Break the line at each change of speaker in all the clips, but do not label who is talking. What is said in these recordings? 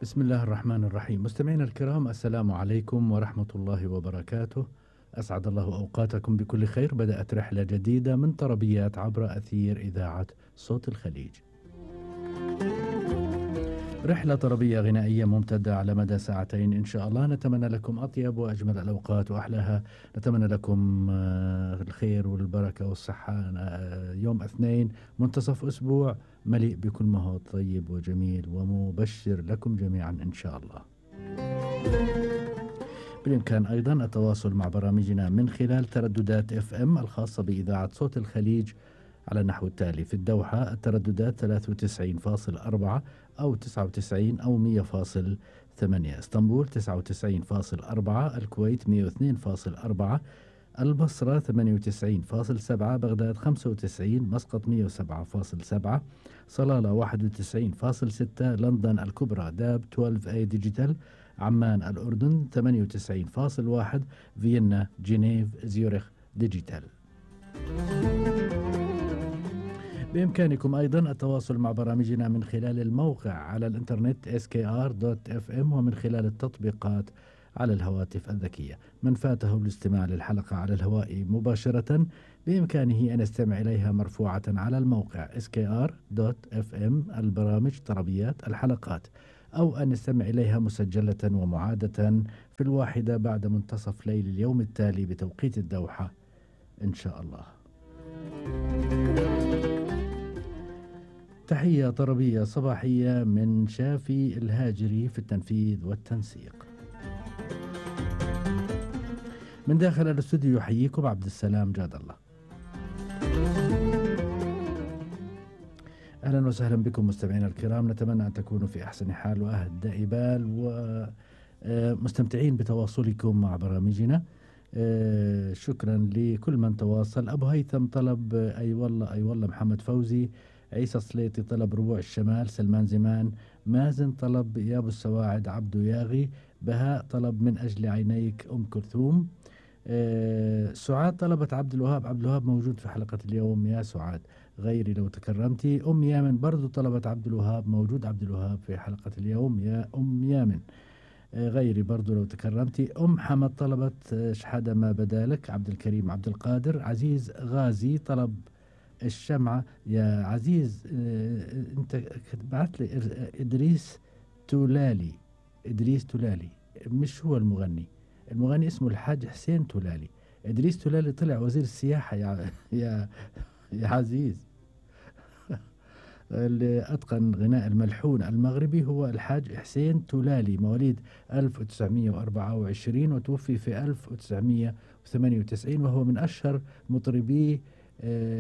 بسم الله الرحمن الرحيم. مستمعينا الكرام، السلام عليكم ورحمة الله وبركاته. أسعد الله أوقاتكم بكل خير. بدأت رحلة جديدة من طربيات عبر أثير إذاعة صوت الخليج. رحلة طربية غنائية ممتدة على مدى ساعتين إن شاء الله. نتمنى لكم أطيب وأجمل الأوقات وأحلاها. نتمنى لكم الخير والبركة والصحة. يوم اثنين منتصف أسبوع مليء بكل ما هو طيب وجميل ومبشر لكم جميعا إن شاء الله. بالإمكان أيضا التواصل مع برامجنا من خلال ترددات FM الخاصة بإذاعة صوت الخليج على النحو التالي: في الدوحة الترددات 93.4 أو 99 أو 100.8، اسطنبول 99.4، الكويت 102.4، البصرة 98.7، بغداد 95، مسقط 107.7، صلالة 91.6، لندن الكبرى داب 12A ديجيتال، عمان الأردن 98.1، فيينا جنيف زيورخ ديجيتال. بإمكانكم أيضا التواصل مع برامجنا من خلال الموقع على الإنترنت skr.fm ومن خلال التطبيقات على الهواتف الذكية. من فاته الاستماع للحلقة على الهواء مباشرة بإمكانه أن يستمع إليها مرفوعة على الموقع skr.fm البرامج طربيات الحلقات، أو أن يستمع إليها مسجلة ومعادة في 1 بعد منتصف ليل اليوم التالي بتوقيت الدوحة إن شاء الله. تحية طربية صباحية من شافي الهاجري في التنفيذ والتنسيق. من داخل الاستوديو يحييكم عبد السلام جاد الله. أهلا وسهلا بكم مستمعينا الكرام. نتمنى أن تكونوا في أحسن حال وأهدى بال ومستمتعين بتواصلكم مع برامجنا. شكرا لكل من تواصل. أبو هيثم طلب أي والله محمد فوزي، عيسى صليطي طلب ربوع الشمال، سلمان زمان، مازن طلب يا أبو السواعد عبدو ياغي، بهاء طلب من أجل عينيك أم كلثوم، سعاد طلبت عبد الوهاب موجود في حلقة اليوم يا سعاد، غيري لو تكرمتي. أم يامن برضو طلبت عبد الوهاب، موجود عبد الوهاب في حلقة اليوم يا أم يامن، غيري برضو لو تكرمتي. أم حمد طلبت شحادة ما بدالك. عبد الكريم عبد القادر. عزيز غازي طلب الشمعة. يا عزيز انت بعت لي إدريس تولالي، مش هو المغني اسمه الحاج حسين تولالي. إدريس تولالي طلع وزير السياحة يا عزيز. اللي أتقن غناء الملحون المغربي هو الحاج حسين تولالي، مواليد 1924 وتوفي في 1998، وهو من أشهر مطربي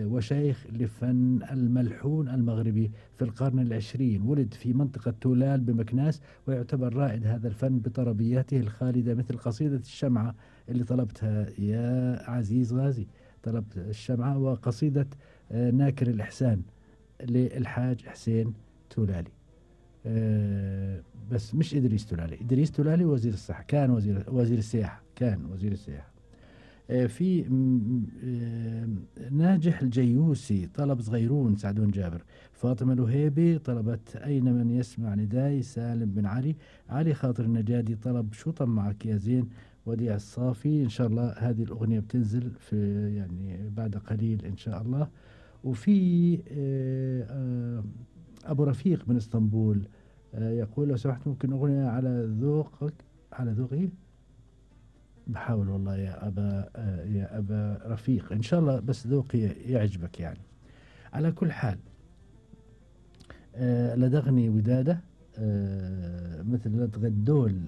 وشيخ لفن الملحون المغربي في القرن العشرين. ولد في منطقة تولال بمكناس، ويعتبر رائد هذا الفن بطربياته الخالدة، مثل قصيدة الشمعة اللي طلبتها يا عزيز غازي، طلبت الشمعة، وقصيدة ناكر الإحسان للحاج حسين تولالي. بس مش إدريس تولالي وزير الصحة، كان وزير السياحة. في ناجح الجيوسي طلب صغيرون سعدون جابر. فاطمة الوهيبي طلبت أين من يسمع نداي. سالم بن علي خاطر النجادي طلب شو طمعك يا زين. وديع الصافي. إن شاء الله هذه الأغنية بتنزل في يعني بعد قليل إن شاء الله. وفي أبو رفيق من اسطنبول يقول لو سمحت ممكن أغنية على ذوقي. بحاول والله يا أبا رفيق إن شاء الله، بس ذوقي يعجبك يعني. على كل حال لدغني ودادة مثل لدغ الدول.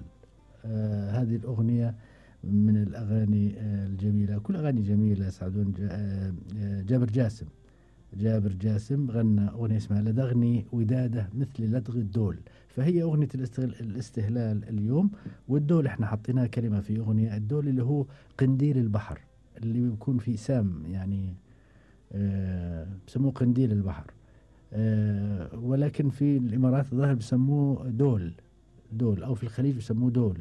هذه الأغنية من الأغاني الجميلة، كل أغاني جميلة. سعدون جابر جاسم غنى أغنية اسمها لدغني ودادة مثل لدغ الدول، فهي أغنية الاستهلال اليوم. والدول احنا حطيناها كلمة في أغنية. الدول اللي هو قنديل البحر، اللي بيكون فيه سام يعني بسموه قنديل البحر. ولكن في الإمارات الظاهر بسموه دول، أو في الخليج بسموه دول.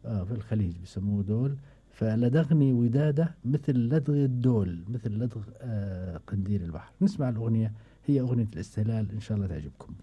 في الخليج بسموه دول. فلدغني ودادة مثل لدغ الدول، مثل لدغ قنديل البحر. نسمع الأغنية، هي أغنية الاستهلال، إن شاء الله تعجبكم.